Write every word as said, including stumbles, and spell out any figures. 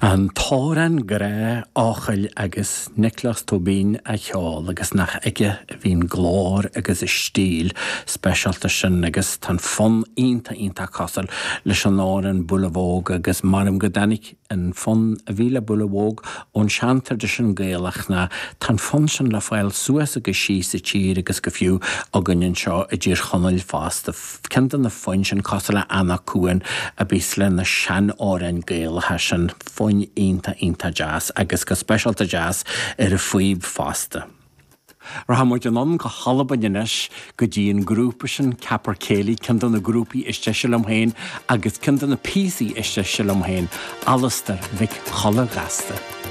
An t-amhrán grá Eochaill agus Nioclás Tóibín á cheol agus nach aige a bhíonn glór agus a stíl speisialta sin agus tá an fonn iontach iontach cosúil leis an amhrán Boolavogue agus maram go dtáinig an fonn a bhí le Boolavogue ón seantraidisiún Gaelach ná tá an fonn sin le fáil suas agus síos sa tír agus go fiú againn anseo i dTír Chonaill fosta. Ceann de na foinn sin cosúil le Anach Cuain a bhíos le na seanamhráin Gaelacha sin foinn iontach iontach deas agus go speisialta deas ar an phíb fosta. Rachaidh muid anonn go hAlbain anois go dtí an grúpa sin Capercaillie ceann de na grúpaí is deise liom féin agus ceann de na píosaí is deise liom féin, Alasdair Mhic Cholla Ghasta.